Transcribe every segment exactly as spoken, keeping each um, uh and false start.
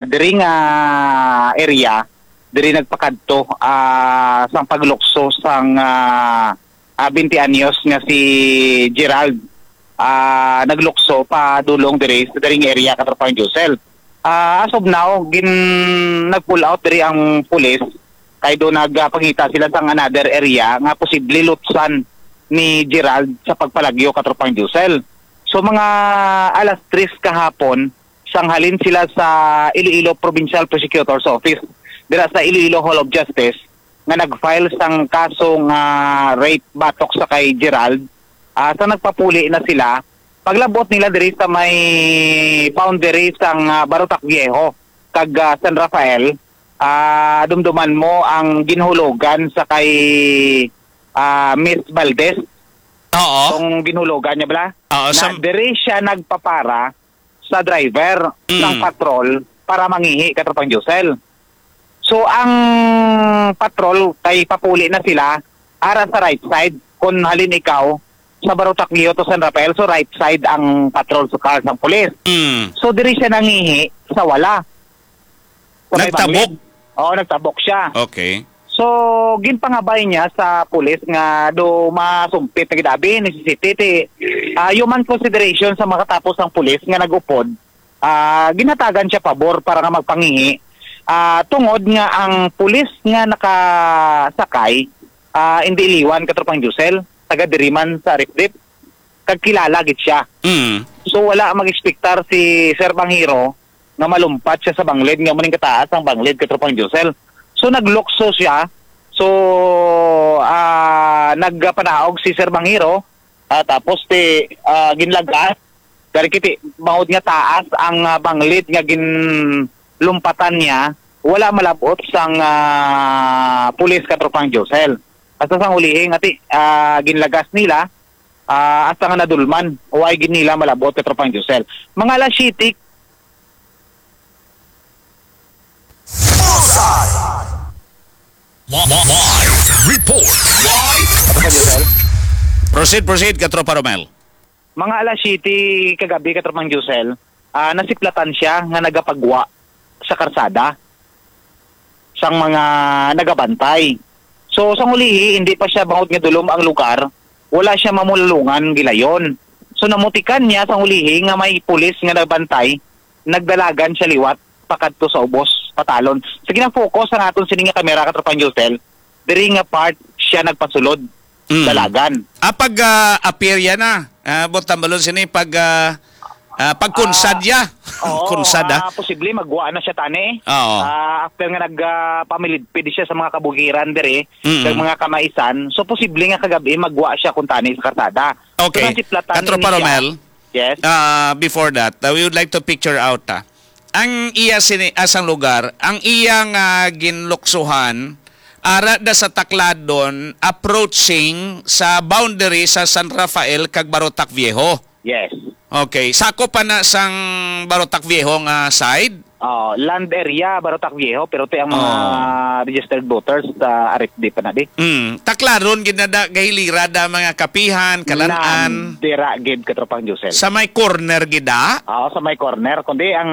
Diri nga area, diri nagpakadto, ah, sang paglukso sang, ah, ah, twenty anyos nga si Gerald, ah, naglukso padulong diri sa diri nga area, Katropang Josel. Ah, as of now, gin-, nag-pull out diri ang pulis kay do nagpangita sila sang another area nga posible lutsan ni Gerald sa pagpalagyo, Katropang Josel. So, mga alas tres kahapon, sang halin sila sa Iloilo Provincial Prosecutor's Office, dira sa Iloilo Hall of Justice, nga nag-file sang kaso nga rape batok sa kay Gerald. Ah, sa nagpapuli na sila, paglabot nila diri sa may boundary sang, ah, Barotac Viejo kag, ah, San Rafael, ah, dumduman mo ang ginhulogan sa kay, ah, Miss Valdez. Oo. Tong ginhulogan niya bala? Oo, Na sa diri siya nagpapara sa driver Mm. ng patrol para mangihi, Katropang Josel. So, ang patrol kay papuli na sila ara sa right side. Kung halin ikaw sa Barotac Viejo to San Rafael, so right side ang patrol sa car sang pulis. Mm. So, diri siya nangihi sa wala. Sa may Nagtabok? bangin. Oo, nagtabok siya. Okay. So, ginpangabay niya sa pulis nga do masumpit na gid abi ni C C T T. Ah, human consideration sa makatapos ang pulis nga nag-upod, ah, ginhatagan siya pabor para nga magpangihi. Ah, tungod nga ang pulis nga nakasakay, ah, hindi iliwan, Katropang Josel, taga diri man sa Aripdip, kag kilala gid siya. Mm. So, wala mag-ekspektar si Sir Banghiro nga malumpat siya sa banglid, nga muning kataas ang banglid, Katropang Josel. So, naglukso siya. So, ah, nagpanaog si Sir Banghiro, ah, tapos ti, ah, ginlagas. Dari kiti, bangod nga taas ang, ah, banglid nga ginlumpatan niya, wala malabot sang, ah, pulis, Katropang Josel. Hasta sang ulihi nga ti, ah, ginlagas nila, ah, hasta nga nadulman, wala gid nila malabot, Katropang Josel. Mga alas siyete. Bullseye! Li-, li-, live report. Live report. Proceed, proceed, Katropa Romel. Mga alas siyete kagabi, Katropang Josel, ah, nasiplatan siya nga nagapagwa sa karsada sang mga nagabantay. So, sang ulihi, hindi pa siya bangod nga dulom ang lugar, wala siya mamulalungan gilayon. So, namutikan niya sang ulihi nga may pulis nga nagbantay, nagdalagan siya liwat pakadto sa ubos, patalon. Sige na, focus ang aton sini nga kamera, Katropang Josel. Diri nga part siya nagpasulod, Mm. dalagan. Ah, pag, ah, appear yan na. Ah, bot tambalon sini pag, ah, ah, pag Ah, kunsad ya. oo, Kunsad, ah. ah, posible magwa na siya tani. Oo. Ah, after nga nag, ah, pamilidpid siya sa mga kabugiran diri, Mm. kag mga kamaisan, so posible nga kagabi magwa siya kung tani sa karsada. Okay. So, nasiplatan Katropa ni siya. Romel, Yes. ah, before that, ah, we would like to picture out, ah. Ang iya sini-, asang lugar, ang iya nga ginluksuhan, ara da sa Tacladon, approaching sa boundary sa San Rafael kag Barotac Viejo. Yes. Okay. Sakop pa na sang Barotac Viejo nga side? Oh, land area, Barotac Viejo, pero ti ang mga Oh. registered voters sa R F D pa na di. Mm. Tacladon gid na da, gahilira da mga kapihan, kalan-an. Nan, dira gid, Katropang Josel. Sa may corner gid da? Oo, sa may corner. Kundi ang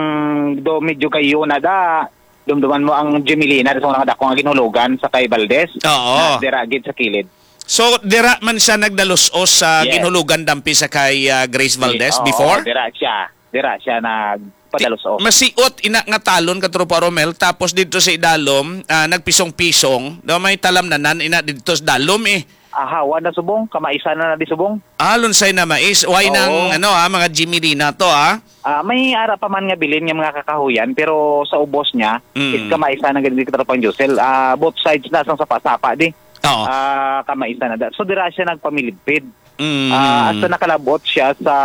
do medyo kayo na da, dumduman mo ang Gemelina, sa mga dako nga ginhulugan sa kay Valdez. Oo. Na dira gid sa kilid. So, dira man siya nagdalos-os sa Yes. ginhulugan dampi sa kay, ah, Grace Valdez Yes, oo, before? dira siya. Dira siya nagpadalos-os. Masiot ina nga talon, Katropa Romel, tapos didto sa idalom, ah, nagpisong-pisong, daw may talamnanan ina didto sa dalom, eh. Ahawa na subong, kamaisan na na di subong. Ah, lunsay na mais. Why Oo. nang, ano, ah, mga Jimmy Lina to, ah? Ah, may ara pa man nga bilin nga mga kakahuyan, pero sa ubos niya, Mm. is kamaisan na gid, Katropang Josel. Ah, both sides na sang sapa-sapa di. Oo. Ah, kamaisan na da. So, dira siya nagpamilidpid. Mm. Ah, hasta nakalabot siya sa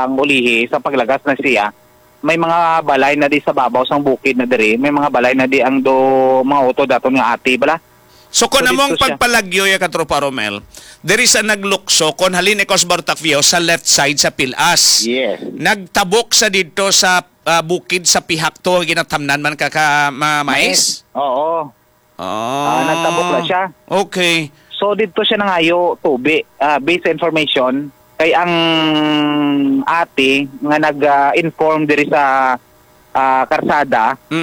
ulihi, sa paglagas na siya. May mga balay na di sa babaw sang bukid na diri. May mga balay na di ang do, mga utod daton nga ati, bala. So, kung So, among dito siya. pagpalagyo ya, Katropa Romel, diri sa naglukso, kung halin ikaw sa Bartacvio, sa left side sa Pilas. Yes. Nagtabok sa didto sa, ah, bukid sa pihak to, ginatamnan man ka, ka ma-, mais? Mais. Oo. Ah. Ah, nagtabok na siya. Okay. So, didto siya nangayo tubi, ah, based sa information, kay ang ate nga nag, ah, inform diri sa ah, karsada,